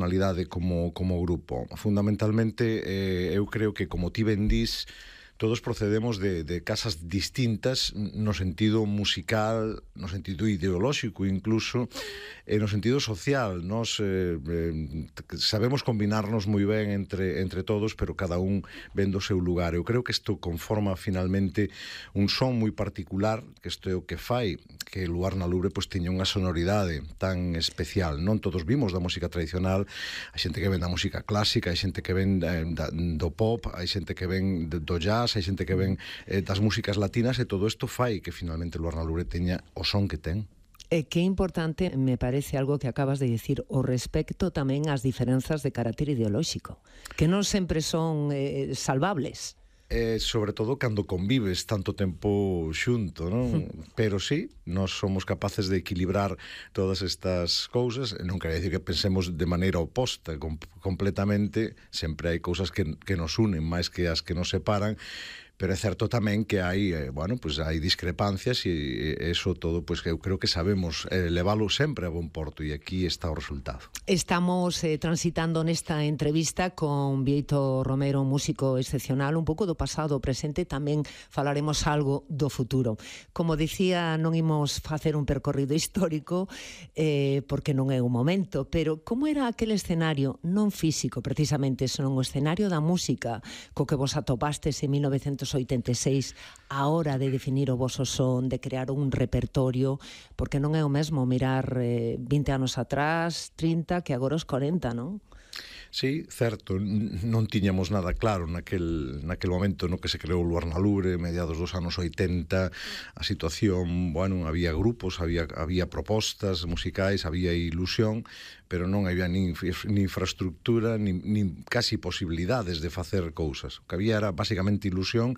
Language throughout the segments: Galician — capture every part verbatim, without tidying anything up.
personalidade como, como grupo. Fundamentalmente, eh, eu creo que, como ti ben dís, todos procedemos de, de casas distintas no sentido musical, no sentido ideolóxico incluso, e no sentido social. Nos eh, eh, sabemos combinarnos moi ben entre, entre todos, pero cada un ven do seu lugar. Eu creo que isto conforma finalmente un son moi particular, que isto é o que fai que Luar na Lubre pois teña unha sonoridade tan especial. Non todos vimos da música tradicional, hai xente que ven da música clásica, hai xente que ven da, da, do pop, hai xente que ven do jazz, hai xente que ven eh, das músicas latinas, e todo isto fai que finalmente Luar na Lubre teña o son que ten. E que importante me parece algo que acabas de dicir, o respecto tamén ás diferenzas de carácter ideolóxico, que non sempre son eh, salvables. Eh, sobre todo cando convives tanto tempo xunto, non? Pero sí, nós somos capaces de equilibrar todas estas cousas. Non quere dicir que pensemos de maneira oposta com completamente. Sempre hai cousas que, que nos unen máis que as que nos separan, pero é certo tamén que hai, eh, bueno, pues hai discrepancias, e eso todo, pues que eu creo que sabemos eh, leválo sempre a bon porto, e aquí está o resultado. Estamos eh, transitando nesta entrevista con Bieito Romero, un músico excepcional, un pouco do pasado, do presente, tamén falaremos algo do futuro. Como dicía, non imos facer un percorrido histórico, eh, porque non é o momento, pero como era aquel escenario, non físico precisamente, senón o escenario da música, co que vos atopastes en mil novecentos oitenta e seis, a hora de definir o voso son, de crear un repertorio, porque non é o mesmo mirar eh, vinte anos atrás, trinta, que agora os corenta, non? Sí, certo, non tiñamos nada claro naquel, naquel momento no que se creou Luar na Lubre, mediados dos anos oitenta. A situación, bueno, había grupos, había, había propostas musicais, había ilusión, pero non había nin, nin infraestructura, nin, nin casi posibilidades de facer cousas. O que había era basicamente ilusión,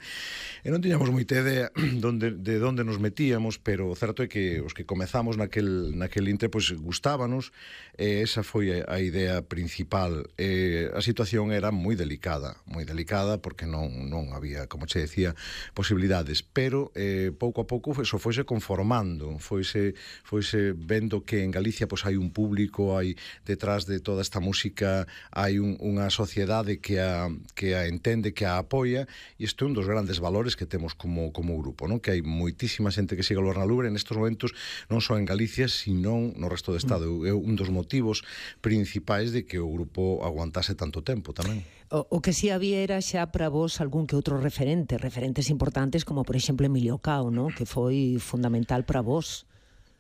e non tiñamos moita idea donde, de onde nos metíamos, pero o certo é que os que comezamos naquel, naquel intre, pois gustábanos, e esa foi a, a idea principal. Eh, a situación era moi delicada, moi delicada, porque non, non había, como che decía, posibilidades, pero eh, pouco a pouco eso foise conformando, foise, foise vendo que en Galicia pois hai un público, hai detrás de toda esta música hai un, unha sociedade que a, que a entende, que a apoia, e isto é un dos grandes valores que temos como, como grupo, non? Que hai moitísima xente que siga Luar na Lubre nestes momentos, non só en Galicia, sino no resto do Estado. É un dos motivos principais de que o grupo aguantase tanto tempo tamén. O, o que si había era xa para vos algún que outro referente, referentes importantes como por exemplo Emilio Cao, ¿no? Que foi fundamental para vos.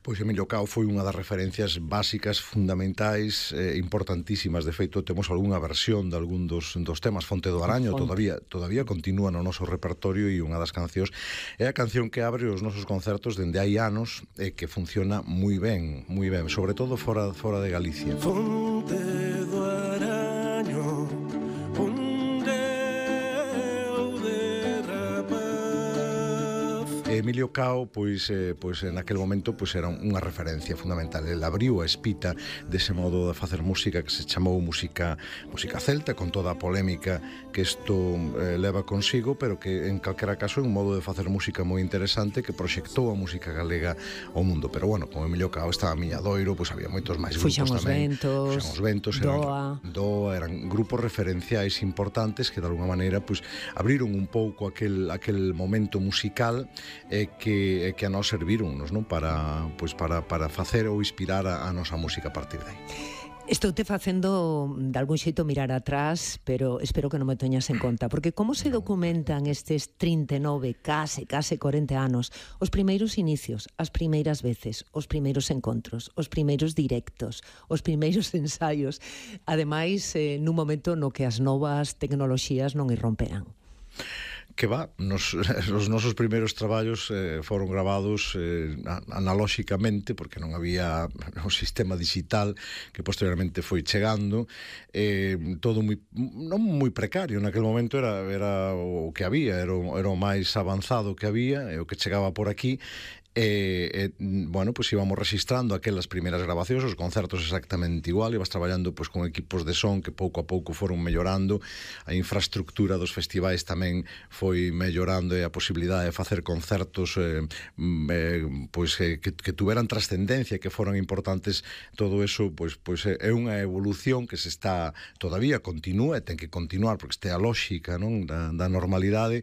Pois Emilio Cao foi unha das referencias básicas, fundamentais, eh, importantísimas. De feito, temos algunha versión de algún dos, dos temas. Fonte do Araño todavía, todavía continúa no noso repertorio, e unha das cancións é a canción que abre os nosos concertos dende hai anos, e que funciona moi ben, moi ben, sobre todo fora, fora de Galicia. Fonte do Araño, Emilio Cao, pois, eh, pois naquel momento pois era unha referencia fundamental. Ele abriu a espita dese modo de facer música que se chamou música música celta, con toda a polémica que isto eh, leva consigo, pero que en calquera caso é un modo de facer música moi interesante que proxectou a música galega ao mundo. Pero bueno, como Emilio Cao estaba Miñadoiro, pois había moitos máis grupos Fuxan os tamén. Ventos, Fuxan os Ventos, Doa. Eran, Doa, eran grupos referenciais importantes que de alguna maneira pois abriron un pouco aquel, aquel momento musical e que, que a nós servíronnos, non? Para, pois para, para facer ou inspirar a, a nosa música a partir de aí. Estou te facendo de algún xeito mirar atrás, pero espero que non me teñas en conta, porque como se documentan estes trinta e nove, case, case corenta anos, os primeiros inicios, as primeiras veces, os primeiros encontros, os primeiros directos, os primeiros ensaios, ademais, eh, nun momento no que as novas tecnoloxías non irromperan. Que va, nos, os nosos primeiros traballos eh, foron gravados eh, analóxicamente, porque non había o sistema digital que posteriormente foi chegando, eh, todo moi, non moi precario, naquele momento era, era o que había, era o, era o máis avanzado que había, e o que chegaba por aquí, E, e, bueno, pois íbamos registrando aquelas primeiras grabacións, os concertos exactamente igual, ibas traballando pois con equipos de son que pouco a pouco foron mellorando, a infraestructura dos festivais tamén foi mellorando e a posibilidade de facer concertos eh, eh, pois eh, que, que tuveran trascendencia, que foran importantes, todo eso pois, pois é unha evolución que se está todavía continúa e ten que continuar porque este é a lógica, non, da, da normalidade.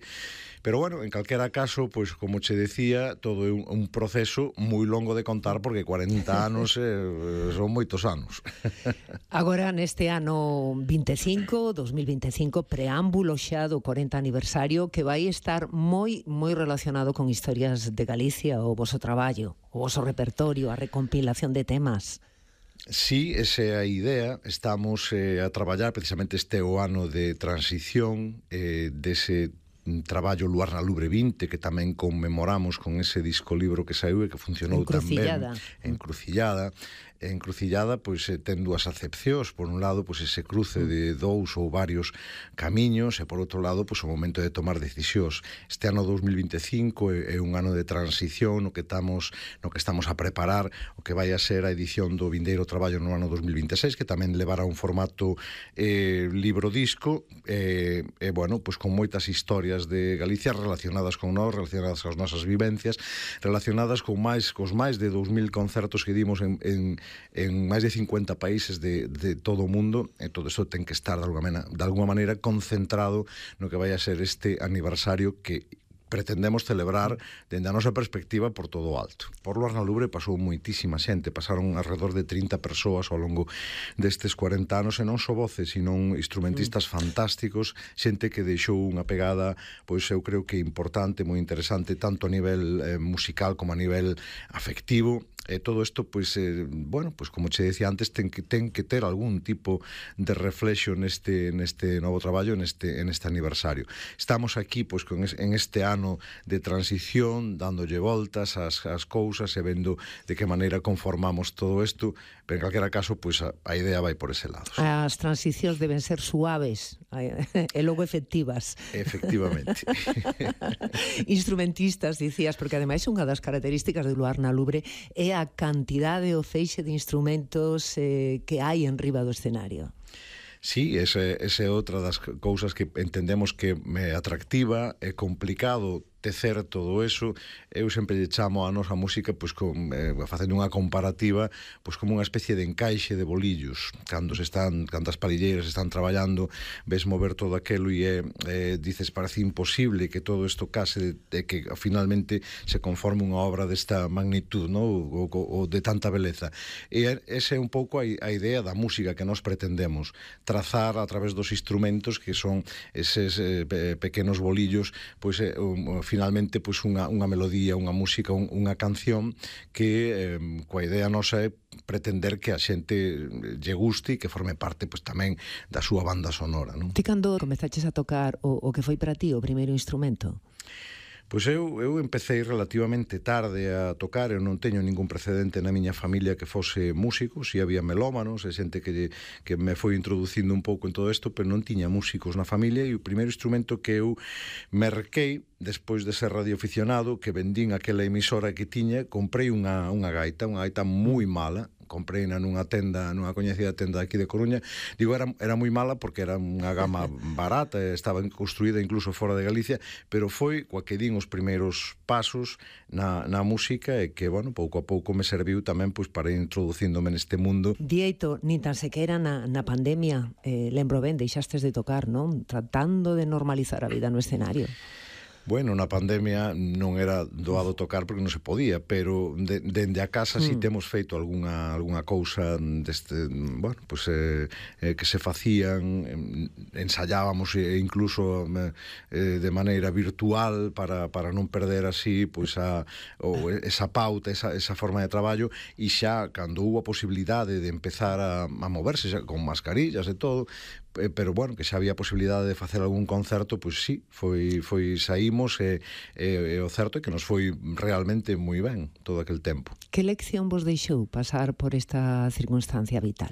Pero bueno, en calquera caso, pois como che decía, todo é un, un proceso moi longo de contar porque cuarenta anos eh, son moitos anos. Agora, neste ano vinte e cinco, dos mil vinte e cinco, preámbulo xa do cuarenta aniversario que vai estar moi moi relacionado con historias de Galicia, o voso traballo, o voso repertorio, a recompilación de temas. Sí, esa é a idea. Estamos eh, a traballar, precisamente este é o ano de transición eh, dese traballo Luar na Lubre vinte, que tamén conmemoramos con ese disco libro que saiu e que funcionou tan ben. Encrucillada. Encrucillada, pois, ten dúas acepcións. Por un lado, pois, ese cruce de dous ou varios camiños, e por outro lado, pois, o momento de tomar decisións. Este ano dos mil vinte e cinco é, é un ano de transición no que estamos no que estamos a preparar o que vai a ser a edición do vindeiro traballo no ano dos mil vinte e seis, que tamén levará un formato eh, libro-disco, e, eh, eh, bueno, pois, con moitas historias de Galicia relacionadas con nós, relacionadas coas nosas vivencias, relacionadas con máis cos máis de dous mil concertos que dimos en, en en máis de cincuenta países de, de todo o mundo, e todo isto ten que estar de alguma, manera, de alguma maneira concentrado no que vai a ser este aniversario que pretendemos celebrar dende a nosa perspectiva por todo o alto. Por Luar na Lubre pasou moitísima xente, pasaron alrededor de trinta persoas ao longo destes cuarenta anos, e non só voces, sino instrumentistas fantásticos, xente que deixou unha pegada, pois eu creo que importante, moi interesante, tanto a nivel eh, musical como a nivel afectivo. E todo isto, pois, eh, bueno, pois como che decía antes, ten que ten que ter algún tipo de reflexo neste neste novo traballo, neste en este aniversario. Estamos aquí, pois, con es, en este ano de transición, dándolle voltas ás as cousas e vendo de que maneira conformamos todo isto, pero en calquera caso, pois a, a idea vai por ese lado. Sí. As transicións deben ser suaves e logo efectivas. Efectivamente. Instrumentistas, dicías, porque ademais unha das características de Luar na Lubre é a cantidade o feixe de instrumentos eh, que hai en riba do escenario. Sí, esa é outra das cousas que entendemos que é atractiva, é complicado tecer todo eso. Eu sempre lle chamo a nosa música, pois, con, eh, facendo unha comparativa, pois, como unha especie de encaixe de bolillos. Cando se están, cando as palilleiras están traballando, ves mover todo aquelo e é, eh, dices, parece imposible que todo isto case, de, de que finalmente se conforme unha obra desta magnitud, no? ou, ou, ou de tanta beleza. E esa é un pouco a, a idea da música que nós pretendemos trazar a través dos instrumentos, que son eses eh, pequenos bolillos, pois, eh, um, finalmente, pois, unha, unha melodía, unha música, un, unha canción que eh, coa idea nosa é pretender que a xente lle guste e que forme parte, pois, tamén da súa banda sonora, non? Ti cando comezaches a tocar o, o que foi para ti o primeiro instrumento? Pois eu, eu empecé relativamente tarde a tocar, eu non teño ningún precedente na miña familia que fose músicos, e había melómanos e xente que, que me foi introducindo un pouco en todo isto, pero non tiña músicos na familia, e o primeiro instrumento que eu merquei despois de ser radioaficionado, que vendín aquela emisora que tiña, comprei unha, unha gaita, unha gaita moi mala, comprei nunha tenda, nunha coñecida tenda aquí de Coruña. Digo, era, era moi mala porque era unha gama barata, estaba construída incluso fora de Galicia, pero foi coa que din os primeiros pasos na, na música, e que, bueno, pouco a pouco me serviu tamén, pois, para ir introducíndome neste mundo. Dieito, nin tan sequera na, na pandemia, eh, lembro ben, deixastes de tocar, non? Tratando de normalizar a vida no escenario. Bueno, na pandemia non era doado tocar porque non se podía, pero de, dende a casa mm. si temos feito algunha, algunha cousa deste, bueno, pues, eh, eh, que se facían, ensayábamos e incluso eh, de maneira virtual para, para non perder así, pois, a, ou esa pauta, esa, esa forma de traballo, e xa cando hubo a posibilidade de empezar a, a moverse xa, con mascarillas e todo, pero bueno, que xa había posibilidade de facer algún concerto, pois sí, foi, foi saímos, e, e, e o certo é que nos foi realmente moi ben todo aquel tempo. Que lección vos deixou pasar por esta circunstancia vital?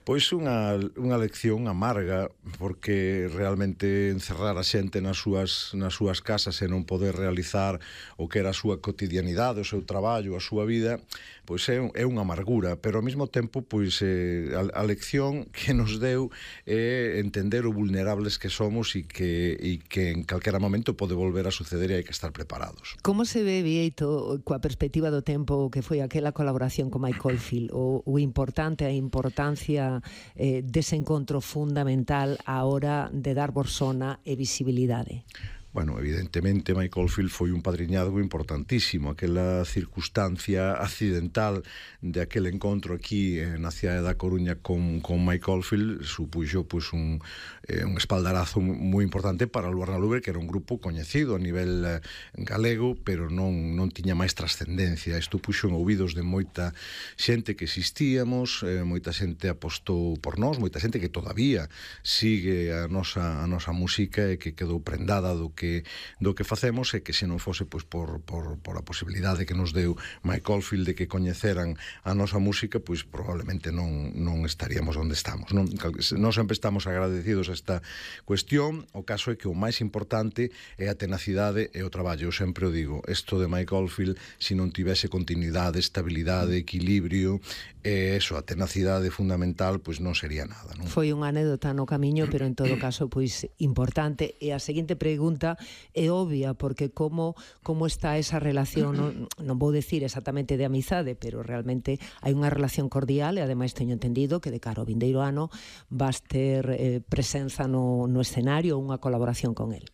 Pois unha, unha lección amarga, porque realmente encerrar a xente nas súas, nas súas casas e non poder realizar o que era a súa cotidianidade, o seu traballo, a súa vida, pois é, é unha amargura, pero ao mesmo tempo pois eh, a, a lección que nos deu é entender o vulnerables que somos e que, e que en calquera momento pode volver a suceder e hai que estar preparados. Como se ve, Bieito, coa perspectiva do tempo que foi aquela colaboración con Mike Oldfield, o, o importante, a importancia eh, dese encontro fundamental á hora de dar borsona e visibilidade? Bueno, evidentemente Mike Oldfield foi un padriñazgo importantísimo. Aquela circunstancia accidental de aquel encontro aquí eh, na cidade da Coruña con, con Mike Oldfield supuxo pues, un, eh, un espaldarazo moi importante para o Luar na Lubre, que era un grupo coñecido a nivel eh, galego, pero non, non tiña máis trascendencia. Isto puxo en ouvidos de moita xente que existíamos, eh, moita xente apostou por nós, moita xente que todavía sigue a nosa, a nosa música e que quedou prendada do que que do que facemos, e que se non fose pois por, por, por a posibilidade que nos deu Mike Oldfield de que coñeceran a nosa música, pois probablemente non, non estaríamos onde estamos, non? Nós sempre estamos agradecidos a esta cuestión. O caso é que o máis importante é a tenacidade e o traballo. Eu sempre o digo, isto de Mike Oldfield, se non tivese continuidade, estabilidade, equilibrio, e eso, a tenacidade fundamental, pois non sería nada, non? Foi unha anécdota no camiño, pero en todo caso pois importante. E a seguinte pregunta é obvia, porque como como está esa relación, non, non vou decir exactamente de amizade, pero realmente hai unha relación cordial, e ademais teño entendido que de cara ao vindeiro ano vas ter eh, presenza no, no escenario, unha colaboración con el.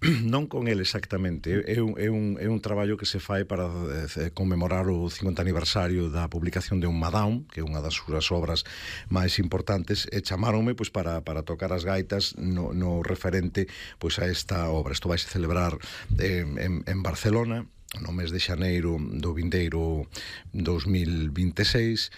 Non con el exactamente, é un, é, un, é un traballo que se fai para eh, conmemorar o cincuenta aniversario da publicación de Un Madame, que é unha das súas obras máis importantes, e chamaronme pois, para, para tocar as gaitas no, no referente pois, a esta obra. Isto vai se celebrar eh, en, en Barcelona no mes de xaneiro do vindeiro dos mil vinte e seis.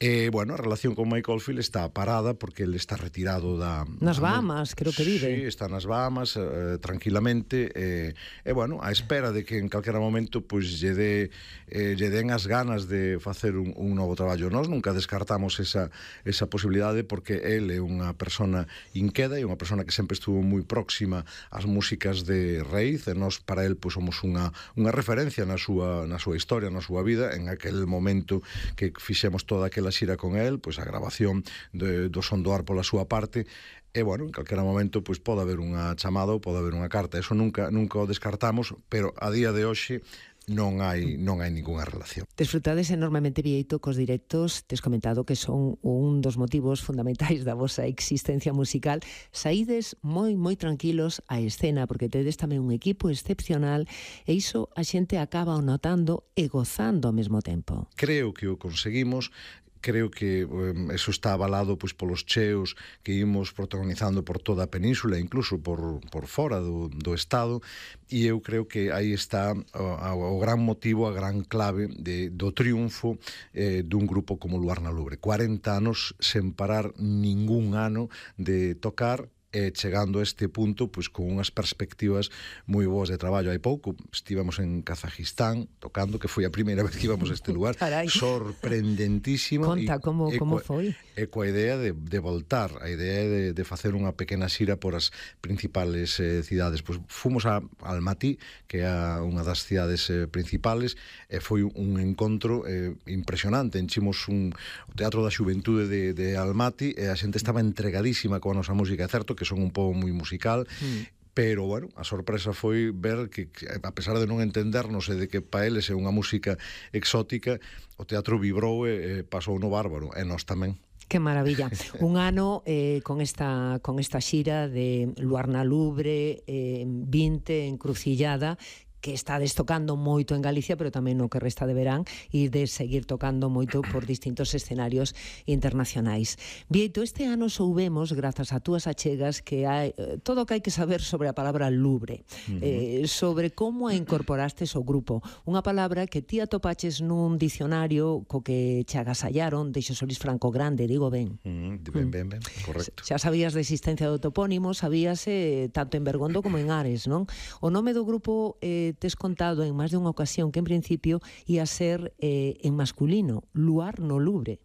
E, bueno, a relación con Mike Oldfield está parada porque ele está retirado da... Nas da, Bahamas, creo que vive. Sí, está nas Bahamas, eh, tranquilamente, e, eh, bueno, a espera de que en calquera momento, pois, lle, de, eh, lle den as ganas de facer un, un novo traballo. Nós nunca descartamos esa, esa posibilidade, porque ele é unha persona inqueda e unha persona que sempre estuvo moi próxima ás músicas de raíz, e nós, para el, pois, somos unha, unha referencia na súa, na súa historia, na súa vida, en aquel momento que fixemos toda aquela xira con el, pois a grabación de, do son do ar pola súa parte, e, bueno, en calquera momento pois pode haber unha chamada ou pode haber unha carta. Eso nunca nunca o descartamos, pero a día de hoxe non hai non hai ningunha relación. Desfrutades enormemente, Bieito, cos directos. Tes comentado que son un dos motivos fundamentais da vosa existencia musical. Saídes moi, moi tranquilos á escena, porque tedes tamén un equipo excepcional, e iso a xente acaba notando e gozando ao mesmo tempo. Creo que o conseguimos. Creo que um, eso está avalado pois, polos cheos que imos protagonizando por toda a península, incluso por, por fora do, do estado, e eu creo que aí está o, o gran motivo, a gran clave de, do triunfo eh, dun grupo como Luar na Lubre. cuarenta anos sen parar ningún ano de tocar, e chegando a este punto pois con unhas perspectivas moi boas de traballo. Hai pouco estivemos en Kazajistán tocando, que foi a primeira vez que íbamos a este lugar. Carai. Sorprendentísimo. Conta, e, como, e como coa, foi? E coa idea de, de voltar, a idea de, de facer unha pequena xira por as principales eh, cidades. Pois fomos a Almaty, que é unha das cidades eh, principales, e foi un encontro eh, impresionante. Enchimos un, o Teatro da Xuventude de, de Almaty, e a xente estaba entregadísima coa nosa música. É certo que son un pobo moi musical, mm. pero, bueno, a sorpresa foi ver que, que, a pesar de non entendernos e de que pa eles é unha música exótica, o teatro vibrou e, e pasou no bárbaro, e nós tamén. Que maravilla. Un ano eh, con esta con esta xira de Luar na Lubre, eh, vinte, Encrucillada, que estades tocando moito en Galicia, pero tamén no que resta de verán, e de seguir tocando moito por distintos escenarios internacionais. Bieito, este ano soubemos, grazas a túas achegas, que hai todo o que hai que saber sobre a palabra lubre, uh-huh. eh, sobre como a incorporastes ao grupo. Unha palabra que ti atopaches nun dicionario co que che agasallaron de Solís Franco Grande, digo ben. Uh-huh. Ben, ben, ben, correcto. Xa sabías da existencia do topónimo, sabíase tanto en Bergondo como en Ares, non? O nome do grupo eh, tes contado en máis de unha ocasión que en principio ia ser eh, en masculino, Luar no Lubre.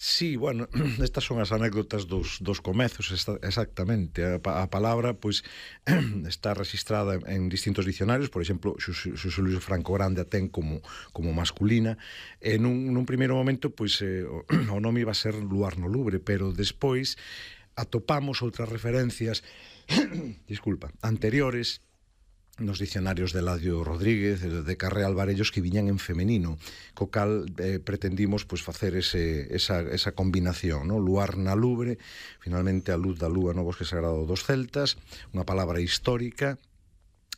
Sí, bueno, estas son as anécdotas dos, dos comezos, esta, exactamente. A, a palabra, pois, está registrada en distintos dicionarios, por exemplo, Xosé Luis Franco Grande a ten como, como masculina. E nun, nun primeiro momento, pois, eh, o, o nome iba a ser Luar no Lubre, pero despois atopamos outras referencias, disculpa, anteriores, nos dicionarios de Eladio Rodríguez, de Carré Alvarellos, que viñan en femenino, co cal eh, pretendimos pois, facer ese, esa, esa combinación, no? Luar na Lubre, finalmente a luz da lúa no bosque sagrado dos celtas, unha palabra histórica,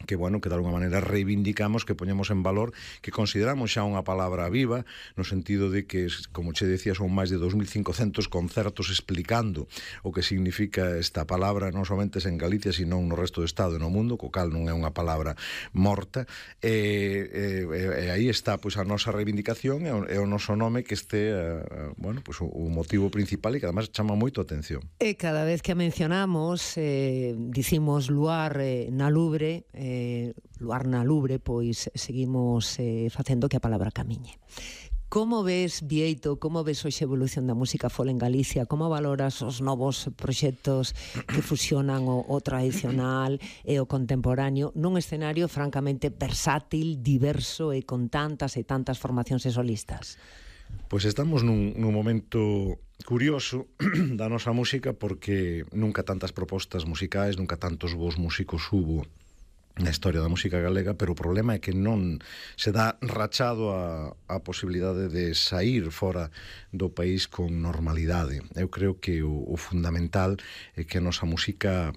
que, bueno, que de alguma maneira reivindicamos, que poñemos en valor, que consideramos xa unha palabra viva, no sentido de que, como che decía, son máis de dos mil cincocentos concertos explicando o que significa esta palabra, non somente en Galicia, sino no resto do Estado e no mundo, co cal non é unha palabra morta, e, e, e aí está pois, a nosa reivindicación e o, e o noso nome que este, uh, bueno, pois, o, o motivo principal e que además chama moito a atención. E cada vez que a mencionamos, eh, dicimos luar eh, na Lubre, eh, Eh, luar na Lubre, pois seguimos eh, facendo que a palabra camiñe. Como ves, Bieito, como ves hoxe a evolución da música folk en Galicia? Como valoras os novos proxectos que fusionan o, o tradicional e o contemporáneo nun escenario francamente versátil, diverso e con tantas e tantas formacións e solistas? Pois estamos nun, nun momento curioso da nosa música, porque nunca tantas propostas musicais, nunca tantos bons músicos hubo na historia da música galega, pero o problema é que non se dá rachado a, a posibilidade de sair fora do país con normalidade. Eu creo que o, o fundamental é que a nosa música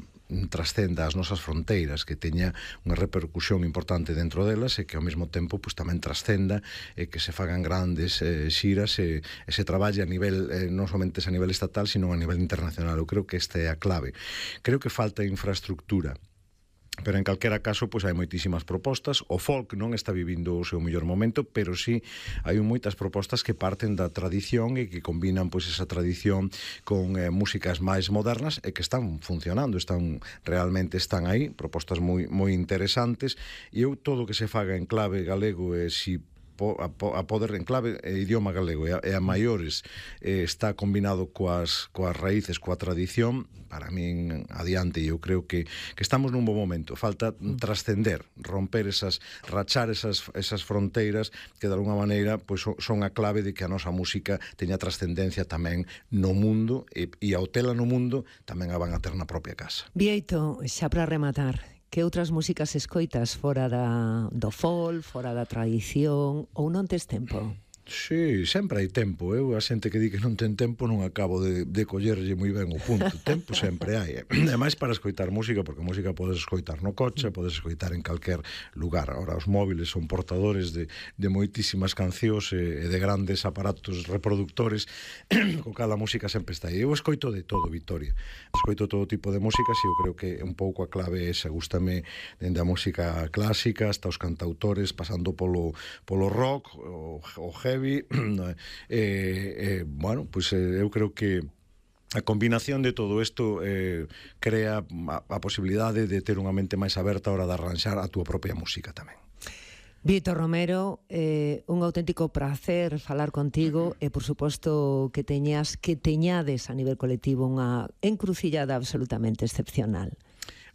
trascenda as nosas fronteiras, que teña unha repercusión importante dentro delas e que ao mesmo tempo pues, tamén trascenda e que se fagan grandes eh, xiras e, e se traballe a nivel, eh, non somente a nivel estatal, sino a nivel internacional. Eu creo que esta é a clave. Creo que falta infraestructura, pero en calquera caso pois hai moitísimas propostas. O folk non está vivindo o seu mellor momento, pero sí hai moitas propostas que parten da tradición e que combinan pois esa tradición con eh, músicas máis modernas e que están funcionando, están realmente están aí, propostas moi moi interesantes, e eu todo o que se faga en clave galego e si A, a poder en clave e idioma galego e a, e a maiores eh, está combinado coas, coas raíces, coa tradición, para min adiante. E eu creo que, que estamos nun bo momento. Falta trascender, romper esas, rachar esas, esas fronteiras que de alguna maneira pois, son a clave de que a nosa música teña trascendencia tamén no mundo e, e ao tela no mundo tamén a van a ter na propia casa. Bieito, xa para rematar, que outras músicas escoitas fora da, do folk, fora da tradición, ou non tes tempo? Sí, sempre hai tempo. Eu a xente que di que non ten tempo non acabo de, de collerlle moi ben o punto. Tempo sempre hai. E máis para escoitar música, porque música podes escoitar no coche, podes escoitar en calquer lugar. Ahora, os móviles son portadores de, de moitísimas cancións e, e de grandes aparatos reproductores, co cal a música sempre está aí. Eu escoito de todo, Victoria. Escoito todo tipo de músicas e eu creo que un pouco a clave esa. Gústame dende a música clásica hasta os cantautores, pasando polo, polo rock, o, o heavy, e, eh, bueno, pois pues, eh, eu creo que a combinación de todo isto eh, crea a, a posibilidade de ter unha mente máis aberta a hora de arranxar a túa propia música tamén. Bieito Romero, eh, un auténtico prazer falar contigo e, por suposto, que teñas que teñades a nivel colectivo unha encrucillada absolutamente excepcional.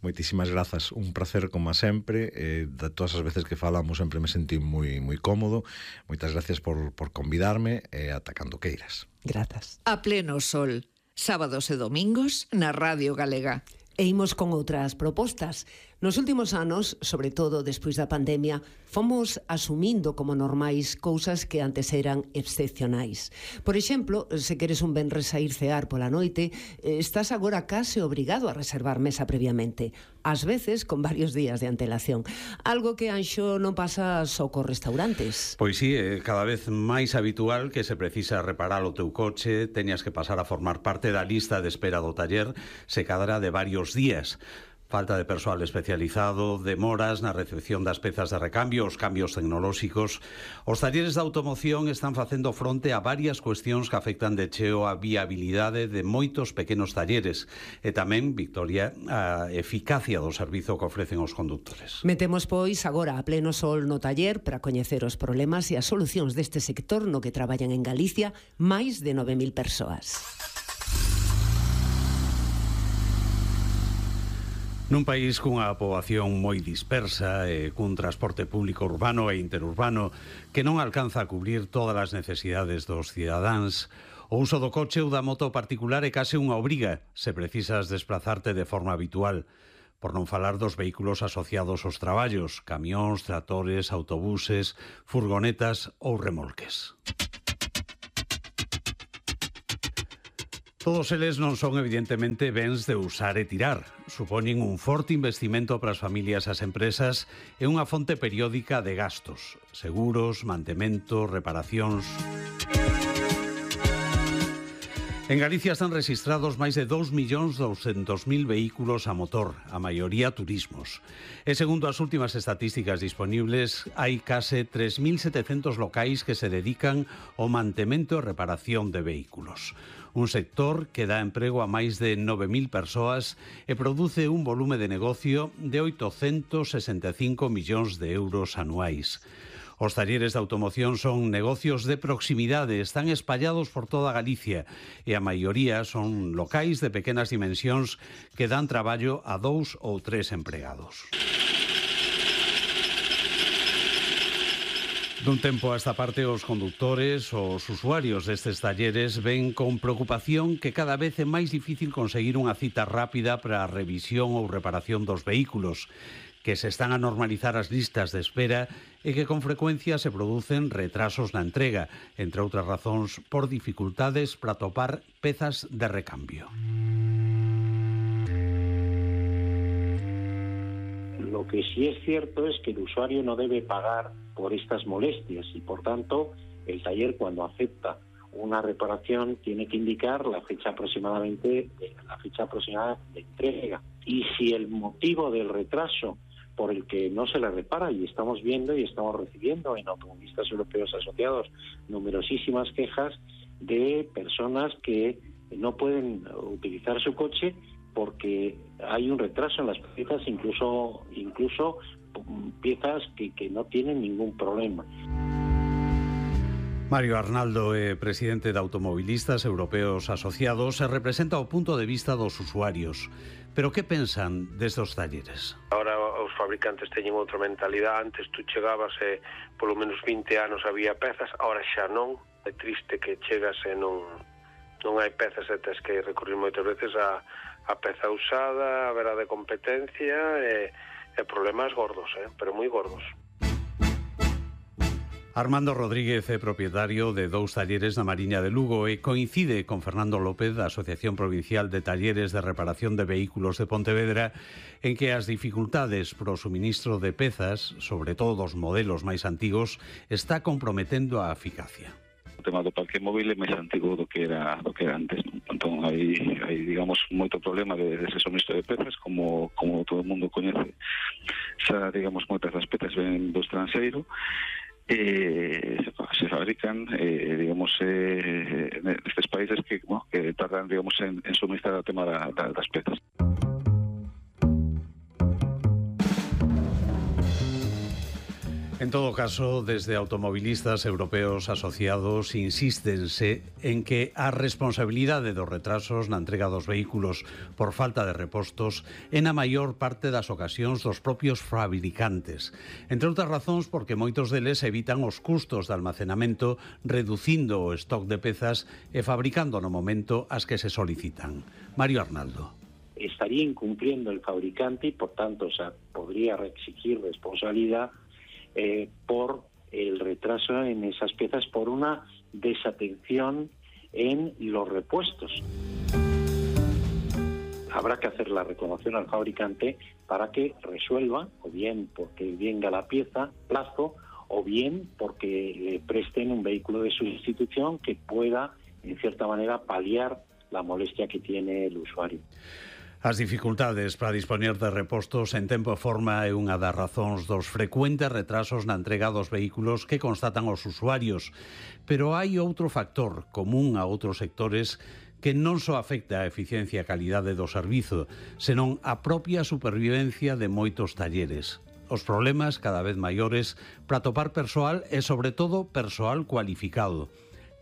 Moitísimas grazas, un placer como sempre, eh, de todas as veces que falamos sempre me sentí moi moi cómodo. Moitas gracias por, por convidarme e eh, ata cando queiras. Grazas. A pleno sol, sábados e domingos na Radio Galega. E imos con outras propostas. Nos últimos anos, sobre todo despois da pandemia, fomos asumindo como normais cousas que antes eran excepcionais. Por exemplo, se queres un venres a ir cear pola noite, estás agora case obrigado a reservar mesa previamente, ás veces con varios días de antelación. Algo que, Anxo, non pasa só cos restaurantes. Pois sí, é cada vez máis habitual que se precisa reparar o teu coche, teñas que pasar a formar parte da lista de espera do taller, se cadra de varios días. Falta de persoal especializado, demoras na recepción das pezas de recambio, os cambios tecnolóxicos. Os talleres de automoción están facendo fronte a varias cuestións que afectan de cheo a viabilidade de moitos pequenos talleres e tamén, Victoria, a eficacia do servizo que ofrecen os condutores. Metemos, pois, agora a pleno sol no taller para coñecer os problemas e as solucións deste sector no que traballan en Galicia máis de nove mil persoas. Nun país cunha poboación moi dispersa e cun transporte público urbano e interurbano que non alcanza a cubrir todas as necesidades dos cidadáns, o uso do coche ou da moto particular é case unha obriga se precisas desplazarte de forma habitual, por non falar dos vehículos asociados aos traballos, camións, tractores, autobuses, furgonetas ou remolques. Todos eles non son evidentemente bens de usar e tirar. Supoñen un forte investimento para as familias e as empresas e unha fonte periódica de gastos, seguros, mantemento, reparacións. En Galicia están registrados máis de dous millóns douscentos mil vehículos a motor, a maioría turismos. E segundo as últimas estatísticas disponibles, hai case tres mil setecentos locais que se dedican ao mantemento e reparación de vehículos. Un sector que dá emprego a máis de nove mil persoas e produce un volume de negocio de oitocentos sesenta e cinco millóns de euros anuais. Os talleres de automoción son negocios de proximidade, están espallados por toda Galicia e a maioría son locais de pequenas dimensións que dan traballo a dous ou tres empregados. Dun tempo a esta parte, os condutores, os usuarios destes talleres ven con preocupación que cada vez é máis difícil conseguir unha cita rápida para a revisión ou reparación dos vehículos, que se están a normalizar as listas de espera e que con frecuencia se producen retrasos na entrega, entre outras razóns por dificultades para topar pezas de recambio. Lo que sí es cierto es que el usuario no debe pagar por estas molestias y, por tanto, el taller, cuando acepta una reparación, tiene que indicar la fecha aproximadamente la fecha aproximada de entrega. Y si el motivo del retraso por el que no se le repara, y estamos viendo y estamos recibiendo en Automovilistas Europeos Asociados numerosísimas quejas de personas que no pueden utilizar su coche porque hay un retraso en las piezas, incluso incluso piezas que, que no tienen ningún problema. Mario Arnaldo é presidente de Automovilistas Europeos Asociados e representa o punto de vista dos usuarios. Pero que pensan destes talleres? Ahora os fabricantes teñen outra mentalidade. Antes tú chegabas e polo menos vinte anos había pezas, ahora xa non. É triste que chegas e non non hai pezas e tes que recurrir moitas veces a, a peza usada, a vera de competencia e, e problemas gordos, eh? pero moi gordos. Armando Rodríguez é propietario de dous talleres na Mariña de Lugo e coincide con Fernando López da Asociación Provincial de Talleres de Reparación de Vehículos de Pontevedra en que as dificultades pro suministro de pezas, sobre todo dos modelos máis antigos, está comprometendo a eficacia. O tema do parque móvil é máis antigo do que era do que era antes, non? Entón hai, hai digamos moito problema de, de ese suministro de pezas, como como todo o mundo coñece. Xa, digamos, moitas das pezas ven do estranxeiro e se, se fabrican eh, digamos eh, nestes países que, bueno, que tardan, digamos, en, en suministrar o tema da, da, das pezas. En todo caso, desde Automovilistas Europeos Asociados insístense en que a responsabilidade dos retrasos na entrega dos vehículos por falta de repostos é na maior parte das ocasións dos propios fabricantes. Entre outras razóns porque moitos deles evitan os custos de almacenamento reducindo o stock de pezas e fabricando no momento as que se solicitan. Mario Arnaldo. Estaría incumpliendo el fabricante y, por tanto, o sea, podría exigir responsabilidad Eh, por el retraso en esas piezas, por una desatención en los repuestos. Habrá que hacer la reclamación al fabricante para que resuelva, o bien porque venga la pieza, plazo, o bien porque le presten un vehículo de sustitución que pueda, en cierta manera, paliar la molestia que tiene el usuario. As dificultades para dispoñer de repostos en tempo e forma é unha das razóns dos frecuentes retrasos na entrega dos vehículos que constatan os usuarios. Pero hai outro factor común a outros sectores que non só afecta a eficiencia e a calidade do servizo, senón a propia supervivencia de moitos talleres. Os problemas cada vez maiores para topar persoal e, sobre todo, persoal cualificado.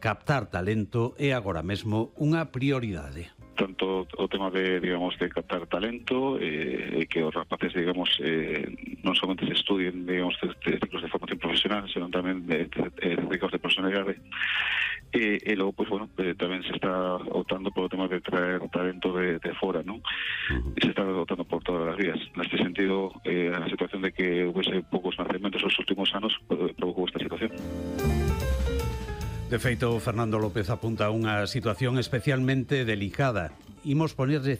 Captar talento é agora mesmo unha prioridade. Tanto o tema de, digamos, de captar talento, eh, que os rapaces, digamos, eh, non somente se estudien, digamos, de, de ciclos de formación profesional, senón tamén de, de, de ciclos de personalidade. E, e logo, pues, bueno, eh, tamén se está optando por o tema de traer talento de, de fora, non? E se está optando por todas as vías. Neste sentido, eh, a situación de que houvese poucos nacementos nos últimos anos eh, provocou esta situación. De feito, Fernando López apunta a unha situación especialmente delicada. Imos ponerlle